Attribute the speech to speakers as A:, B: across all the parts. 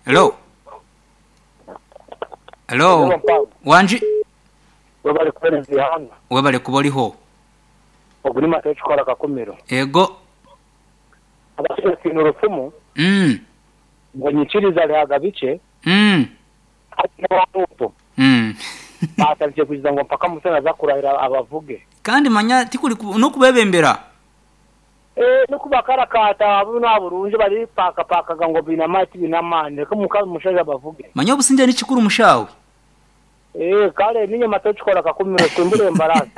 A: Hello. Hello. Wangi.
B: Webale kuwereza eighanga.
A: Webale kuba oligho.
B: Ogu ni Mata ekikola Kakumiro.
A: Ego.
B: Abashaija twine orufumu ngu enyikiriza rihaga bikye hati n'owa Ruto atandikire kwikiriza ngu mpaka Museveni aza kurahira abavuge.
A: Kandi manya tikuri n'okubebembera.
B: Eeh n'okubakarakaata boona burungi baripakapakaga ngu baine amaani tibaine amaani reka omushaija abavuge.
A: Manya obusingye nikikuru mushaawe.
B: Eeh kare ninye Mata ekikora Kakumiro simbura embaraasi.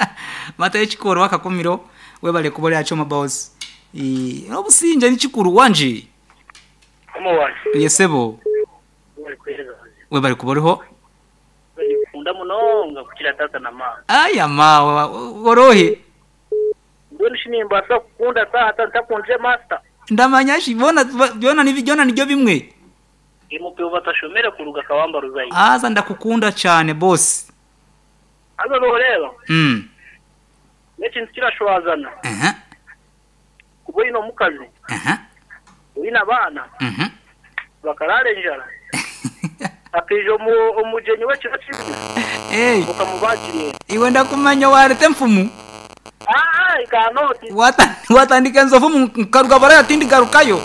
A: Mata ekikora owa Kakumiro webale kuba ori aha kyoma boss. Eeh obusingye nikikuru wangi.
C: Mukama wangye.
A: Ye sebo.
C: Webale kuheereza mazima.
A: Webale kuba oriho.
C: Ninkukunda munonga kukira taata na maama.
A: Aya maawe ori ohi?
C: Mbwenu shi nimbaasa kukunda taata ntakundire master?
A: Ndamanya shi boona byona byona nibyo bimwe.
C: Ndi batashomere kuruga Kawamba Ruzayi.
A: Haza ndakukunda kyane boss.
C: Haza noreeba n'ekintu kirashwazana kuba oine omukazi, oine abaana bakaraara enjara hakaija omugyenyi w'ekiro kimwe okamubaagira ente.
A: Iwe ndakumanya waareta enfumu. Waatandika enjovu nkaruga baraya tindigarukayo.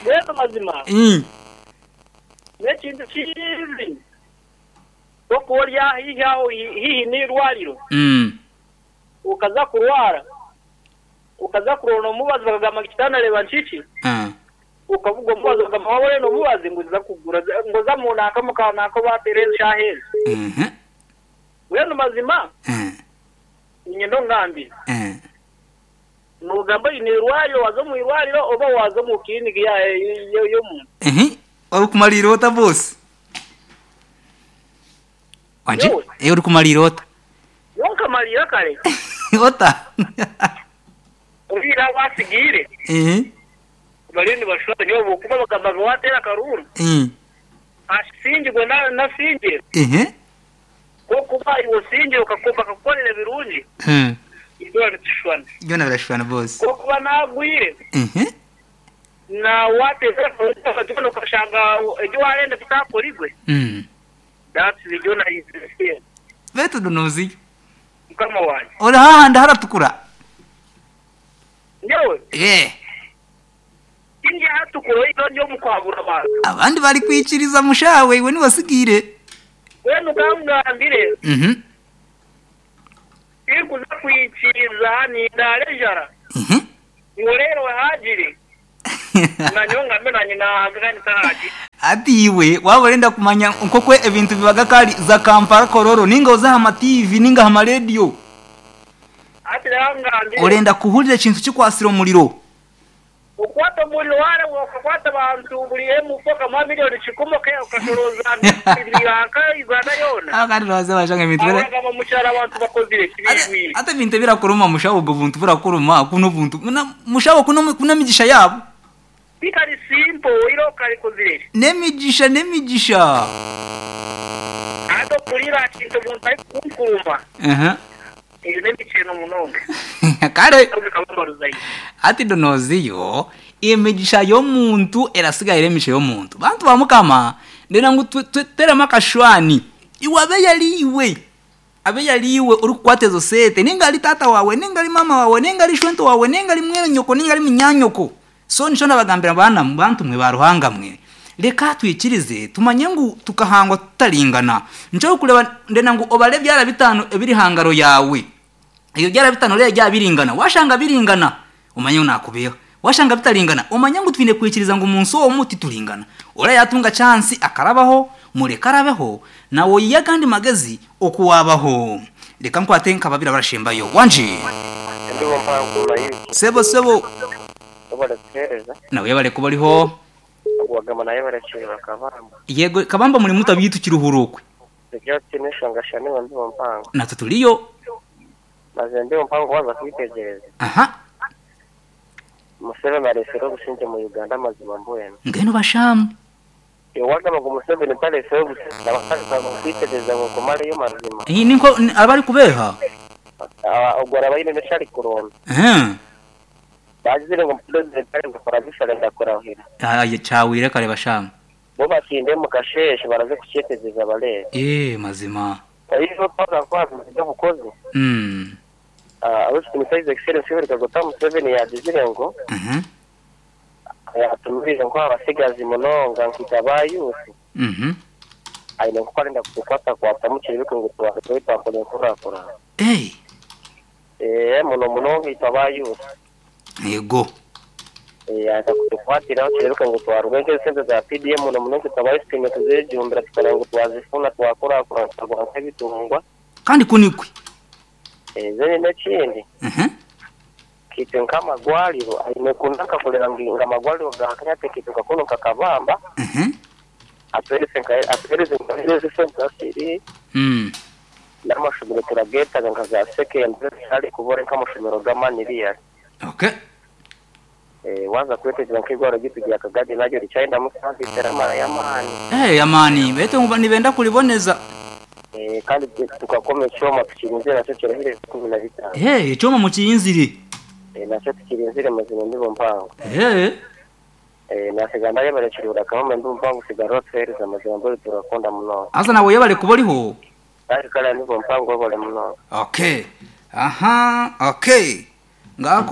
C: Mbwenu mazima n'ekintu kibi nk'okuba ori haihi aho haihi n'eirwariro okaza kurwara okaza kuronda omubazi bakagamba ngu kitanda reeba nkiki okabuga omubazi bakagamba waaba orenda omubazi ngu za kugura ngu za omu nanka omu ka nanka obateera ezi shaaha ezi. Mbwenu mazima niinyenda ongambire noogamba oine eirwariro waaza omu irwariro oba waaza omu kiriniki y'omuntu?
A: Orikumariira ota boss? Wangi?
C: Nyowe?
A: Eh, orikumariira ota?
C: Nyowe nkamariira kare.
A: Ota?
C: Oihireho abatsigaire bariyo nibashusha nyowe ahabw'okuba bagamba ngu waateera akaruuru asingirwe nasingire kw'okuba iwe osingire bakakukorera ebirungi byona nitushushwana.
A: Byona birashushwana boss.
C: Kw'okuba nagwire na waateeza akaruuru okashanga ebi waarenda bitakorigwe that's byona is the same.
A: Beitu Dunuuziyo.
C: Mukama wangye.
A: Ori hahandi haratukura?
C: Nyowe?
A: Yee.
C: Tindi ahatukura oihireho ndi omu kuhabura abantu.
A: Abandi barikwikiriza mushawe iwe niiwe otsigaire.
C: Mbwenu ka nkugambire, tinkuza kwikiriza nindaara enjara ngu reero haagire na nyowe ngambe naanye naahaga kandi ntahaagire.
A: Hati iwe waaba orenda kumanya nk'oku ebintu bibaga kare za Kampala Kololo ninga oze aha ma TV ninga aha ma rediyo.
C: Hati reero ngambire.
A: Orenda kuhurira ekintu kikwatsire omuriro.
C: Okwata omuriro wareeba okakwata abantu buri MP okamuha milioni kikumi okashorooza yanka Uganda yoona.
A: Aho kandi nooza washanga ebintu bira.
C: Aho omukyaro abantu bakozire ki biijwire.
A: Hati ebintu ebirakuruma mushaho obwo buntu burakuruma kunu obuntu mushaho kunu kunu emigisha yaabo.
C: Tikari simple oihireho karikozire ki.
A: N'emigisha n'emigisha.
C: Hati okurira aha kintu omuntu arikukunkuruma eyo n'emikyeno munonga.
A: Kare hati Donoziyo emigisha y'omuntu erasigara eri emigisha y'omuntu. Bantu ba Mukama ndenda ngu tuteremu akashwani iwe abe yari iwe abe yari iwe orikukwata ezo sente ninga ari taata waawe ninga ari maama waawe ninga ari shwento waawe ninga ari mwene nyoko ninga ari munyanyoko So nikyo ndabagambira baana bantu mwe ba Ruhanga mwe, reka twikirize tumanye ngu tukahangwa tutaringana. Nikyo orikureeba ndenda ngu obare ebyara bitaano ebiri aha ngaro yaawe. Ebyo byara bitaano oreebe byaba biringana. Waashanga biringana, omanye ngu naakubeeha. Waashanga bitaringana, omanye ngu twine kwikiriza ngu omu nsi omu tituringana. Oriya yaatunga chansi akarabaho, mureke arabeho, naiwe oyihe agandi magezi oku waabaho. Reka nkwate nka babiri abarashembayo. Wangi?
D: Endubo mpango mayugi.
A: Sebo sebo.
D: Webale kuhereza.
A: Nawe yebale kuba oriho.
D: Ogwagamba naye yebale kyeba Kabamba.
A: Yego Kabamba muri muto beitu kiruhura okwe.
D: Turi tutaine enshonga sha niiwe Mbibo mpango.
A: Natwe turiyo.
D: Mazima Mbibo mpango waaza kwitegyereza.
A: Aha.
D: Museveni aresire obusingye mu Uganda mazima mbwenu.
A: Mbwenu bashaamu.
D: Iwe wagamba ngu Museveni taretsireho obusingye naba kwitegyereza ngu nkumareyo mazima.
A: Eeh ninko aba arikubeeha.
D: Ogwo araba aine n'eki arikuronda.
A: Eeh.
D: Bagizire ngu purezidenti arikukora bisha arenda kurahira.
A: Aye kyahweire kare bashanga.
D: Bo batinde omu kasheeshe baraze kukyetegyereza bareebe.
A: Eeh mazima.
D: Oyihireho twaza nka aha bintu by'obukozi, Ow'ekitiinisa His Excellency Yoweri Kaguta Museveni yaagizire ngu yaatumiire nko aha batsigazi munonga nkaitwe aba youth, aine nk'oku arenda kutukwatakwatamu kireebeke ngu twarugayo twakora enkurakurana. Eeh muno munonga itwe aba youth.
A: Yego.
D: Eeh arenda kutukwatiraho kireebeke ngu twarugayo nk'ezi sente za PDM muno munonga itwe aba youth twine kuzejumbira tukareba ngu twazifuna twakurakurana twagura nk'ebitungwa.
A: Kandi ku nikwe.
D: Eeh then n'ekindi Kitwe nk'amagwariro aine kunanka kureba ngu amagwariro ga Kenya ati kitwe nka kunu nka Kabamba atuhereze nka atuhereze nka ezi sente ziri n'amashomero turagetaga nka za secondary zitari kubura nk'amashomero g'amani really.
A: Okay.
D: Eh, waza kwetegyereza nk'eirwariro ryaitu rya Kagadi naryo rikyayendamu service eramara y'amaani.
A: Eh, y'amaani beitu ngu nibenda kuriboneza.
D: Eh, kandi tukakoma ekyoma tukirinzire nakyo kirahire 15.
A: Eh, ekyoma mukirinzire.
D: Eh, nakyo tukirinzire mazima embibo mpango.
A: Eh.
D: Eh, nasiga ndayebare Kiruhura Kahoma embibo mpango sigara otuhereze amazima mbwenu turakunda munonga.
A: Haza nawe oyebare kuba oriho.
D: Kare kare embibo mpango webare munonga.
A: Okay. Aha, okay. Ngaako.